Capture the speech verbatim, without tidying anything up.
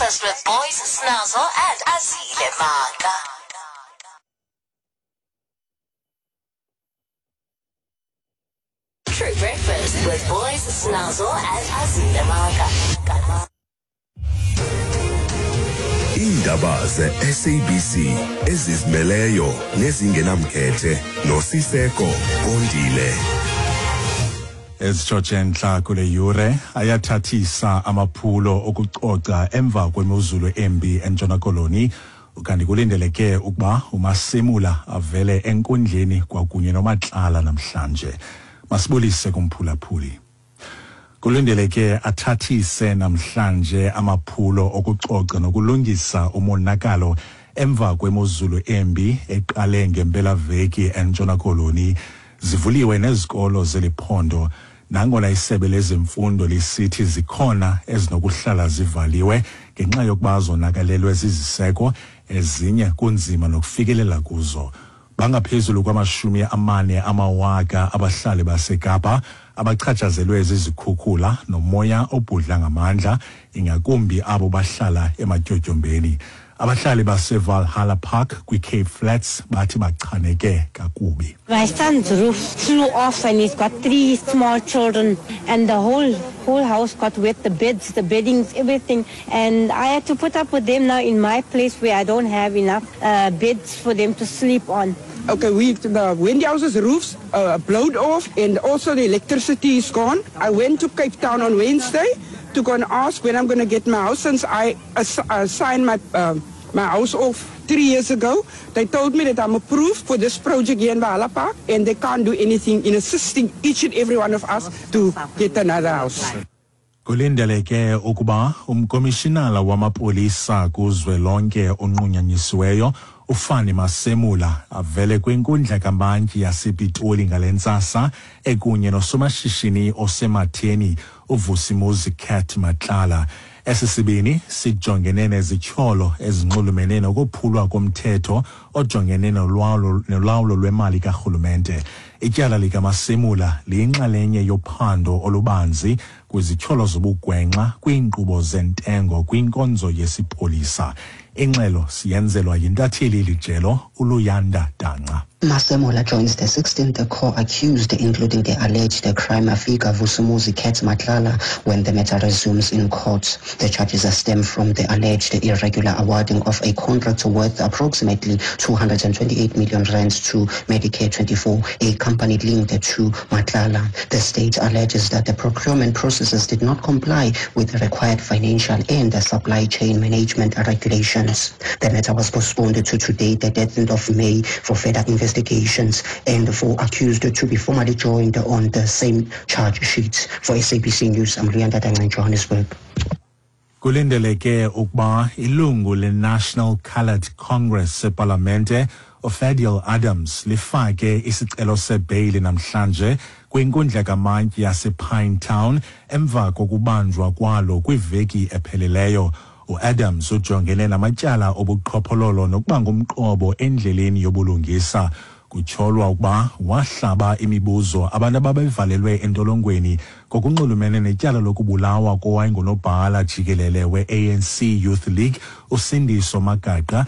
Breakfast with Boys Snazo and Azile Maka. True Breakfast with Boys Snazo and Azile Maka. Iindaba ze-S A B C ezizimeleyo nezingenamkhethe noSiseko Kondile. Ezitshotshe entla kule yure: ayathathisa amaphulo okucoca emva kwemozulu embi eNtshona Koloni, kanti kulindeleke ukuba uMasimula avele enkundleni kwakunye noMatlala namhlanje. Masibulise kumphulaphuli. Kulindeleke athathise namhlanje amaphulo okucoca nokulungisa umonakalo emva kwemozulu embi eqale ngempelaveki eNtshona Koloni. Zivuliwe nezikolo zeliphondo, nangona isebe lezemfundo lisithi zikhona ezinokuhlala zivaliwe ngenxa yokuba zonakalelwe ziziseko, ezinye kunzima nokufikelela kuzo. Bangaphezulu kwamashumi amane amawaka abahlali baseKapa abachatshazelwe zizikhukhula nomoya obhudla ngamandla, ingakumbi abo bahlala ematyotyombeni. Abahlali baseValhalla Park kwi-Cape Flats bathi bachaneke kakubi. My son's roof flew off and he's got three small children and the whole whole house got wet, the beds, the beddings, everything. And I had to put up with them now in my place where I don't have enough uh, beds for them to sleep on. Okay, we the Wendy House's roofs uh, blowed off and also the electricity is gone. I went to Cape Town on Wednesday to go and ask when I'm going to get my house, since I uh, signed my, uh, my house off three years ago. They told me that I'm approved for this project here in Valhalla Park and they can't do anything in assisting each and every one of us to get another house. Kulindeleke ukuba umkomishinala wamapolisa kuzwelonke onqunyanyisiweyo uFani Masemula avele kwinkundla kamantyi yasePitoli ngale ntsasa ekunye nosomashishini osematheni uVusimuzi Cat Matlala. Esi sibini sijongene nezityholo ezinxulumene nokophulwa komthetho ojongene nolawulo lwemali karhulumente. Ityala likaMasemula liyinxalenye yophando olubanzi kwizityholo zobugwenxa kwiinkqubo zentengo kwinkonzo yesipolisa. Ingxelo siyenzelwa yintatheli elijelo uLuyanda Danca. Masemola joins the sixteenth co-accused, including the alleged crime figure Vusumuzi Cat Matlala, when the matter resumes in court. The charges stem from the alleged irregular awarding of a contract worth approximately two hundred twenty-eight million rands to Medicare twenty-four, a company linked to Matlala. The state alleges that the procurement processes did not comply with the required financial and supply chain management regulations. The matter was postponed to today, the thirteenth of May, for further investigations and for accused to be formally joined on the same charge sheet. For S A B C News, I'm Luyanda Danga in Johannesburg. Kulindeleke ukuba ilungu le-National Coloured Congress epalamente uFadiel Adams lifake isicelo sebheyili namhlanje kwinkundla kamantyi yasePinetown emva kokubanjwa kwalo kwiveki epheleleyo. UAdams ujongene namatyala obuqhophololo nokuba ngumqobo endleleni yobulungisa. Kutyholwa ukuba wahlaba imibuzo abantu ababevalelwe entolongweni ngokunxulumene netyala lokubulawa kowayengunobhala jikelele we-A N C Youth League uSindiso Magaqa.